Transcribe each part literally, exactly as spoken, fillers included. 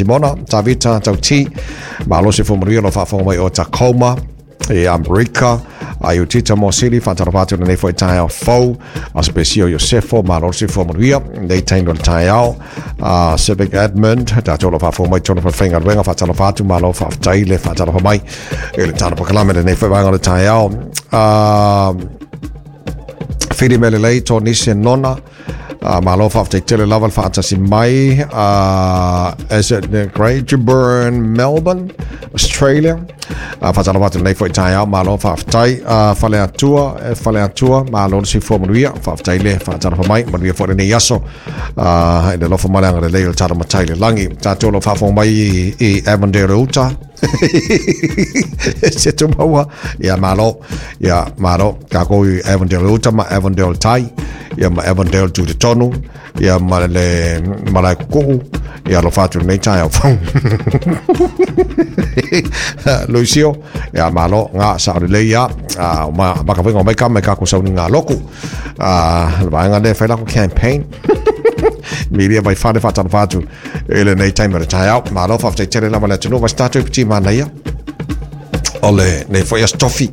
Simona, Tavita Tauti, malo se fua lo faafofoga mai o Tacoma e Amerika. A i tita mo sili faatalofa atu lenei foi taeao fou a sepesio Iosefo, malo se fua manuia nei taimi o le taeao. uh, Civic Edmund, tatou lo faafofoga mai tonu faigaluega, faatalofa atu, malo faafetai le faatalofa mai i le tano pakalame lenei foi vaega o le taeao. uh, Fili Melelei, Tonise Nona, Uh, malo faafetai tele lava le faatasi mai. uh, is it Great Burn, Melbourne, Australia? uh, faatalofa atu lenei foi taeao, malo faafetai. uh, Fale Atua, e Fale Atua, malo le soifua manuia, faafetai le faatalofa mai, manuia foi lenei aso uh, i le alofa ma le agalelei o le tatou Matai le lagi. Tatou lo faafofoga mai i, i Avondale, Utah, se tumaua ia, malo ia, malo kākou i Avondale Uta ma Avondale Tai ia ma Avondale tu te tonu ia ma le malae kukuu ia, alofa atu lenei taeao fou Luisio ia, malo ngā sa o lelei ia ma makawinga o mai ka mai kākou sauniga loku le vaega lea fai lako campaign milia vai fale. Faatalofa atu i lenei taimi o le taeao, malo faafetai tele lava le atunuu vai se tatou piti manaia o le nei foi aso tofi.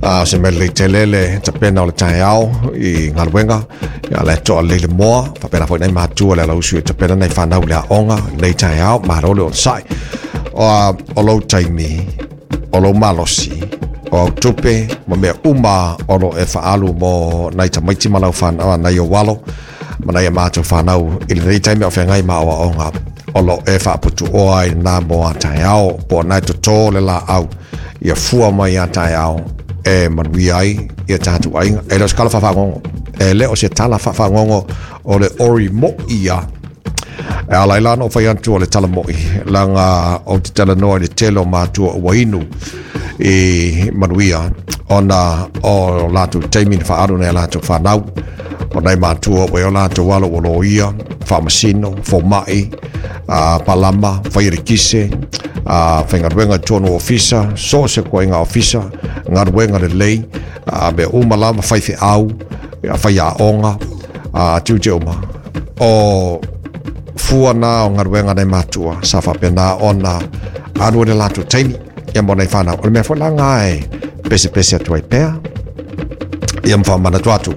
uh, se mea lelei tele le tapena o le taeao i galuega ia le toa lele moa faapena foi nai matua le alausu e tapena nai fanau le aoga nei taeao. Malo le onosai o, o lou taimi o lou malosi o au tupe ma mea uma o lo e faalu mo nai tamaiti ma lau whanau nai o walo ma nai a mātou whanau i lenei taimi o whengai ma oaoga o lo e whaaputu oa i nā mo a taeao po nai toto le la au ia fua mai a taeao e manuia ai ia tātou aiga. E le o se kala whawhangongo, e le o se tala whawhangongo o le ori mo ia e ala i lana o whai atu o le tala moi langa o te tala noa i le tele o mātua ua inu i manuia ona o lātou taimi na whaaru nei a lātou whanau o nei mātua o e o lātou alo o lo ia whaamasino, fōma'i, uh, palama, whairekise, uh, whaingaruenga tonu ofisa, so se koe ngā ofisa, ngaruenga le lei, uh, me uma lava whai whi au, ia whai a onga, uh, tiu te uma. O fua nā o ngaruenga nei mātua, sa whapena ona aru le lātou taimi, ia mo nei whanau. O le mea foi langa e pese pese atu ai pea, ia mwha atu,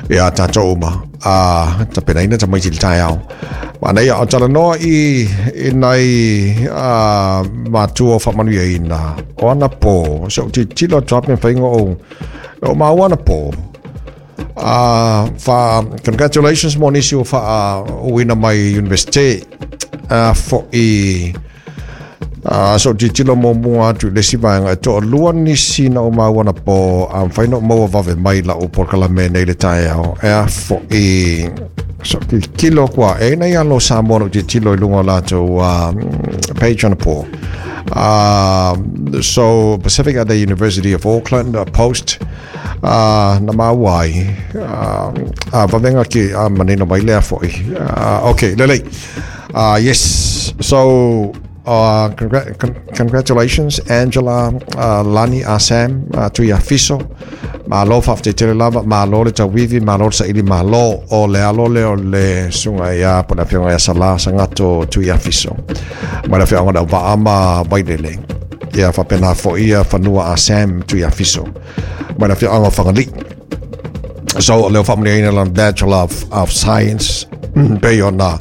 ia tātou uma, a tapena ina tamaiti le taeao. Ma nei o tala noa i, i nai uh, mātua o whamanuia ina o ana pō. So ti tilo atu ape whainga o, o maua ana pō. Uh, wha, congratulations mo nisi o wha uina mai university uh, fo i uh, so ti tilo mo mua atu le si vaenga e toa lua nisi na o maua na pō a whaina o maua vave mai la o porkalame nei le taeao e a fo i so ti tilo kua e nei alo Samoa no ti tilo i lunga lātou uh, page on pō. Uh, so Pacific at the University of Auckland uh, post uh, na mauai uh, uh, vavenga ki uh, manino mai lea foi. uh, okay lelei, uh, yes, so Uh, congra- con- congratulations Angela, uh, Lani Asam, uh, Tui Afiso, malo faafetai tele lava, malo le tauivi, malo le saili, malo o le alo le o le suga ia po le afioga ia Sala Sagato Tui Afiso ma le afioga le auva'a Vailele ia faapena fo'i ia Fanua Asam Tui Afiso ma le afioaga o Fagalii. So leo faamanuiaina lana Bachelor of, of Science pei ona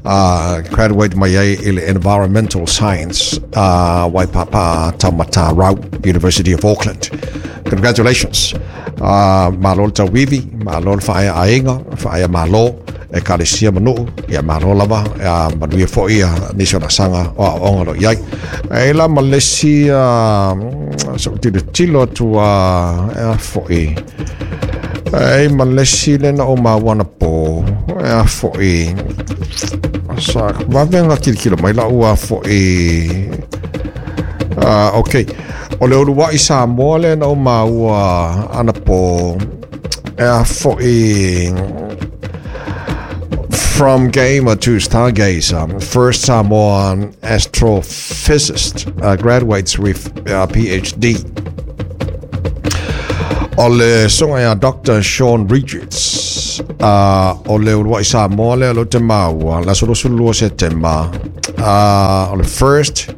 uh, graduate mai ai i le Environmental Science, uh, Waipapa Taumata Rau, University of Auckland. Congratulations. Uh, malo le tauivi, malo le whaea aenga, whaea malo, e kalesia manu, ia malo lava, ia manuia foi ia nisi o nasanga o a onga lo iai. E la malesi, uh, so tilo tilo atu uh, e a foi. E malesi le na o mawana pō, e a foi. Sa vavenga kilikilo mai la ua foi. Uh, ok. O le ulu i Samoa le na o maua ana pō. E a foi. From gamer to stargazer, first Samoan astrophysicist uh, graduates with uh, PhD. O le songa ia Doctor Sean Richards. Uh, o le Uluai Samoa lea lo te maua, la solo sulu Setema. Uh, o le first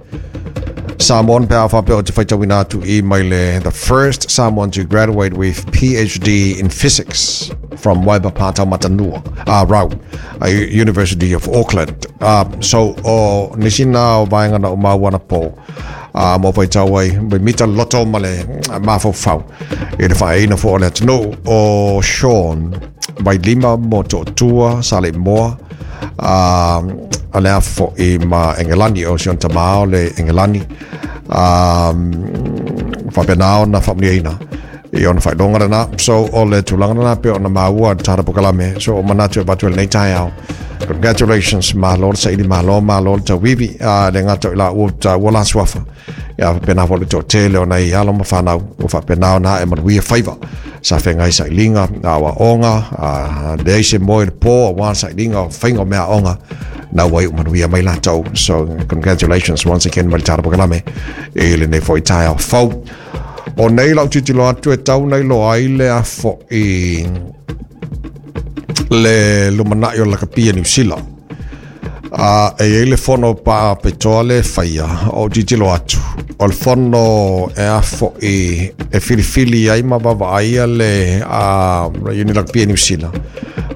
Samoan pe whapea o te whaitawina atu i mai le the first Samoan to graduate with P H D in physics from Waipapata Matanua, uh, Rau, uh, University of Auckland. Uh, so, o nisina o vaenga na o mauana po, uh, mo whaitawai, me mita loto male mawhau e le whaeina fo o le atunu o Sean, vai lima mo to'otua, sa le moa, uh, a lea fo i ma Engelani o Sean Tamao le Engelani um, whapenao na whamniaina i ona whailonga rana. So o le tūlanga rana pe o na maua tara pokalame. So o manatu e batu e nei tai au. Congratulations, malo sa ili malo malo ta wiwi a le ngato ila o ta wala swafa. Ia whapena fo le tō tele o nei alo mawhanau o whapenao na e manuia whaiva. Sa whengai sa ilinga a wa onga a le se moe le pō a wā sa ilinga o whainga mea onga. Na wai o manuia mai lātou. So congratulations once again mai tara pokalame e le nei fo i tai au fau. O nei lau titilo atu e tau nei lo ai le a fo i le lumanai o lakapia New Zealand. Uh, e ei le fono pa petoa le whaia o titilo atu. O le fono e a fo i e filifili ai ma wawa ai le uh, uni lakapia New Zealand.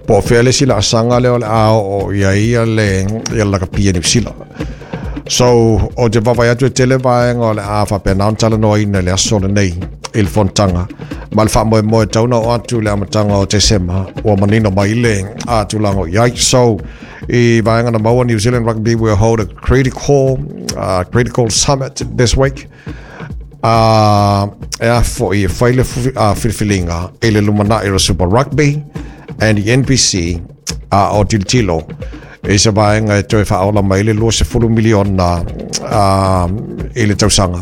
Po whea le sila asanga le o le ao o ia ia le ia lakapia New Zealand. So, o te wawai atu e tele vaenga o le a whapena on tala noa ina le aso le nei i le fontanga. Ma le whamoe moe tauna o atu le amatanga o te sema o manino mai le a tūlanga o iai. So, i vaenga na maua New Zealand Rugby will hold a critical, uh, critical summit this week. Uh, e a fo i whaile uh, filfilinga e le lumana i le Super Rugby and the N P C uh, o Tiltilo. E se vaenga e toe whaola mai le lua se fulu miliona uh, i le tausanga.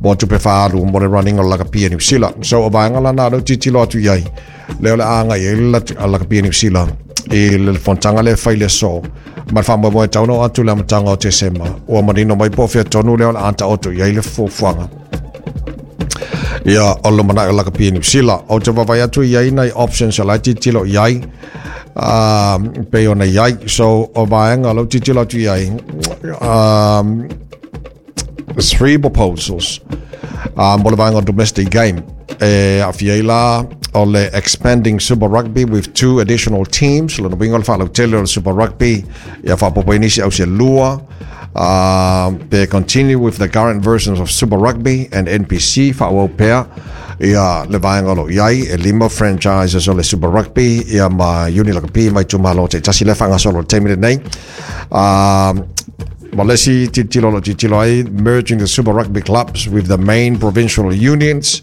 Mo tupe whaalu mo le running o lakapia New Zealand. So o vaenga la nā titilo atu iai. Leo le anga i le lakapia New Zealand. I le fontanga le whaile so. Ma le whamoe moe tauno atu le amatanga o te sema. Ua manino mai po whia tonu leo le anta oto iai le fuafuanga. Ia o le manai o lakapia New Zealand. O te wawai atu iai nei options o lai titilo iai. Um, pe ona iai. So o vaenga lau titilo atu iai. Um, three proposals. Um, o le vaenga domestic game. E a fiela o le expanding Super Rugby with two additional teams. Lona winga o le whaalautele o le Super Rugby. Ia whapopoinisi au se lua. Uh, they continue with the current versions of Super Rugby and N P C whaawau pea. Ia le vaenga lo iai e lima franchises o le Super Rugby ia ma uni lakapi mai tumalo te tasi le whangasolo te mire nei. Um, Malesi titilo lo titilo ai merging the Super Rugby clubs with the main provincial unions.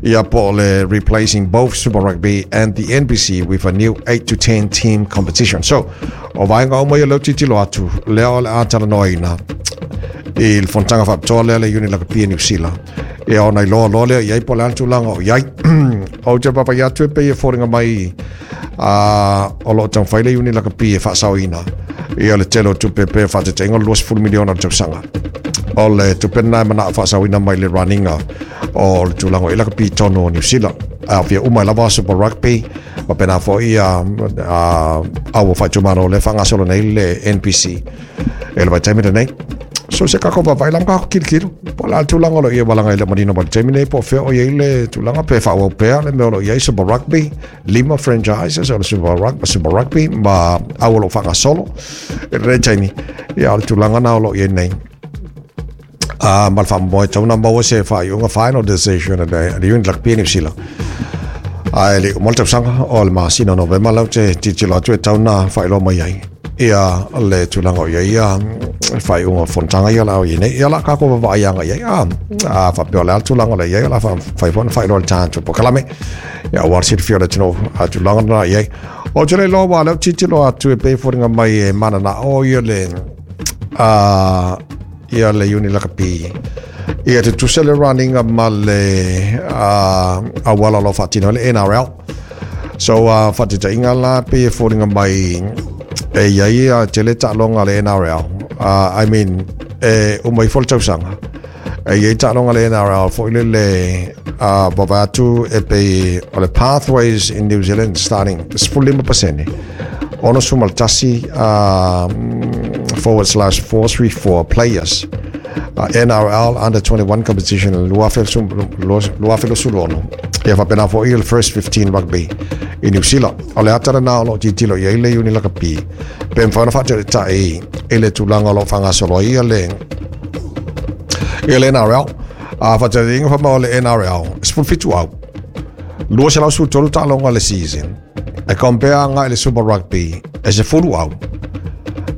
Ia po le replacing both Super Rugby and the N P C with a new eight to ten team competition. So, o vaenga o mai leo titilo atu leo le atala noina i le fontanga whapitoa lea le uni lakapia New Zealand. Ia o nei loa loa lea iai po le antulanga o iai. O te papa iatu e pe e fōringa mai uh, o lo tau whaile uni lakapia whaasauina. Ia le tele o tupe pe whaatete ingo luas fulu miliona o tausanga. O le tupe nai mana whaasauina mai le runninga o le tūlanga i lakapi tono o New Zealand. A whia umai lava Super Rugby ma pena fo ia aua whaitumaro le whangasolo nei le N P C. E le vaitaimi nei. So se kako wawai lam kako kilikilo. Po la tūlanga lo ia walanga i le manino ma le taimi nei po whea o ia i le tūlanga pe whaawau pea le mea o lo ia i Super Rugby lima franchises o le Super Rugby, Super Rugby ma aua lo whangasolo e le taimi ia o le tūlanga na o lo ia nei. Uh, ma le whamoe tauna maua se whaiunga final decision a le uni lakapia New Zealand. Ai le umal tausanga o le masina Novema lau te titilo atu e tauna whailoa mai ai. Ia le tūlanga o ia ia whaiunga fontanga ia lau ia nei. Ia la kako wawaianga ia ia. A whapeo le tūlanga le ia la whaiwhana whailoa le tāntu po kalame. Ia war sirifio le tino a tūlanga na ia. O te le loa wā leo titilo atu e peiforinga mai e mana na o ia le uh, ia le uni lakapi. Ia te tuse le runninga ma le uh, awala lo whatino le N R L. So uh, whatita inga la pe fōringa mai e ia ia te le ta'alonga le N R L. Uh, I mean, e umai fo le tausanga. E iai taaloga le N R L foi lele a vaavaai atu e pei o le pathways in New Zealand starting fifteen pasene ono suma tasi uh, forward slash four three four players uh, N R L under twenty-one competition lua afe lua afe luasefulu ono ia faapena foi le first fifteen rugby i New Zealand. O le ata lena o loo tilotilo i ai le Iuni Lakapi pe mafai ona faataitai i le tulaga o loo faagasolo ai ia le ia le N R L. A faataiga fa ma o le N R L sefulufitu au lua selau sefulutolu taaloga le season e compare agai le Super Rugby e sefulu au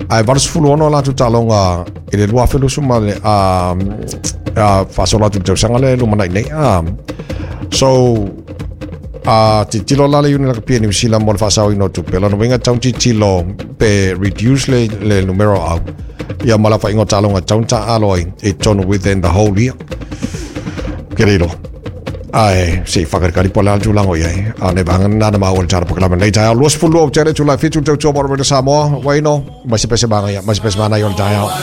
ae valu sefulu ono latou taaloga i le lua afe luasu ma le a a faasolo atu i le tausaga le lumanai nei a. So a tilotilo la le Iuni Lakapi New Zealand mo le faasaoina o tupe lona uiga tau tilotilo pe reduce le, le numero au ia ma la faiga o taaloga tau taalo ai i totonu within the whole year ke le ae se whakarikari po le ala tulaga o i ai a ne vanga nana maua le tara pokalama nei taeao luasefulu lua tele Tula'i fitu tautua mo le Samoa waino mai se pese manga ia mai se pese mana i o le taeao.